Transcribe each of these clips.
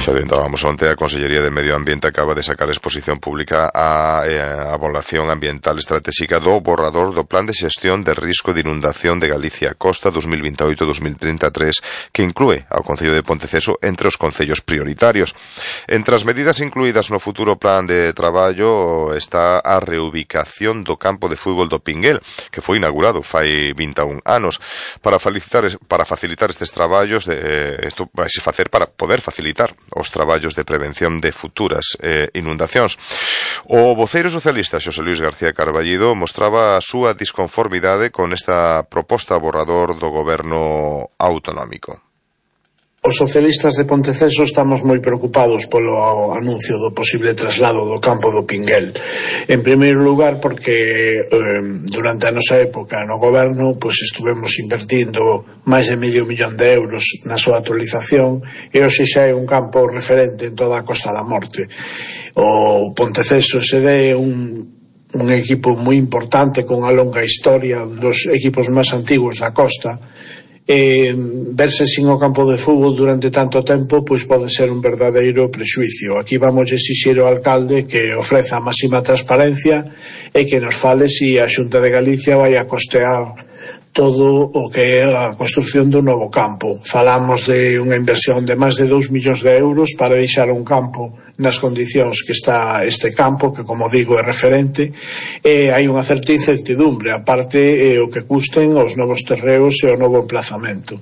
Xa adiantábamos onte, a Consellería de Medio Ambiente acaba de sacar a exposición pública a avaliación ambiental estratégica do borrador do Plan de Xestión de Risco de Inundación de Galicia Costa 2028-2033, que inclúe ao Concello de Ponteceso entre os concellos prioritarios. Entre as medidas incluídas no futuro plan de traballo está a reubicación do campo de fútbol do Pinguel, que foi inaugurado fai 21 anos. Para facilitar estes traballos, isto vai se facer para poder facilitar os traballos de prevención de futuras inundacións. O voceiro socialista Xosé Luís García Carballido mostraba a súa disconformidade con esta proposta borrador do goberno autonómico. Os socialistas de Ponteceso estamos moi preocupados polo anuncio do posible traslado do campo do Pinguel. En primeiro lugar porque durante a nosa época no goberno estuvemos invertindo máis de €500.000 na súa actualización e hoxe xa é un campo referente en toda a Costa da Morte. O Ponteceso SD é un equipo moi importante con a longa historia, dos equipos máis antigos da costa. Verse sin o campo de fútbol durante tanto tempo pode ser un verdadeiro prexuicio. Aquí vamos exixir ao alcalde que ofreza a máxima transparencia e que nos fale se a Xunta de Galicia vai a costear todo o que é a construción do novo campo. Falamos de unha inversión de máis de €2.000.000 para deixar un campo nas condicións que está este campo, que como digo é referente, e hai unha certa incertidumbre, aparte o que custen os novos terreos e o novo emplazamento.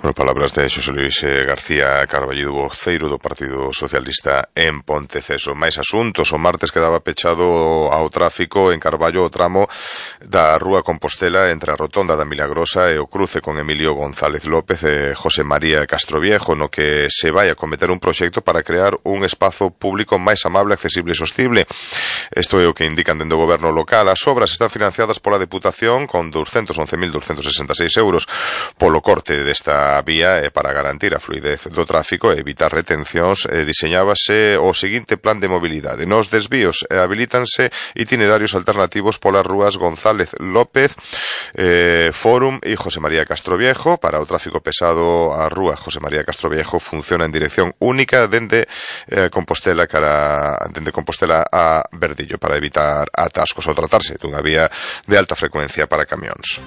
Bueno, palabras de Xosé Luís García Carballido, voceiro do Partido Socialista en Ponteceso. Máis asuntos, o martes quedaba pechado ao tráfico en Carballo o tramo da Rúa Compostela entre a Rotonda da Milagrosa e o cruce con Emilio González López e José María Castroviejo, no que se vai a cometer un proxecto para crear un espazo público máis amable, accesible e sostible. Isto é o que indican dende o goberno local. As obras están financiadas pola Deputación con €211.266 polo corte desta vía e para garantir a fluidez do tráfico e evitar retencións diseñábase o seguinte plan de mobilidade. Nos desvíos habilítanse itinerarios alternativos polas rúas González López, Fórum e José María Castroviejo. Para o tráfico pesado, a rúa José María Castroviejo funciona en dirección única dende Compostela a Verdillo para evitar atascos ao tratarse dunha vía de alta frecuencia para camións.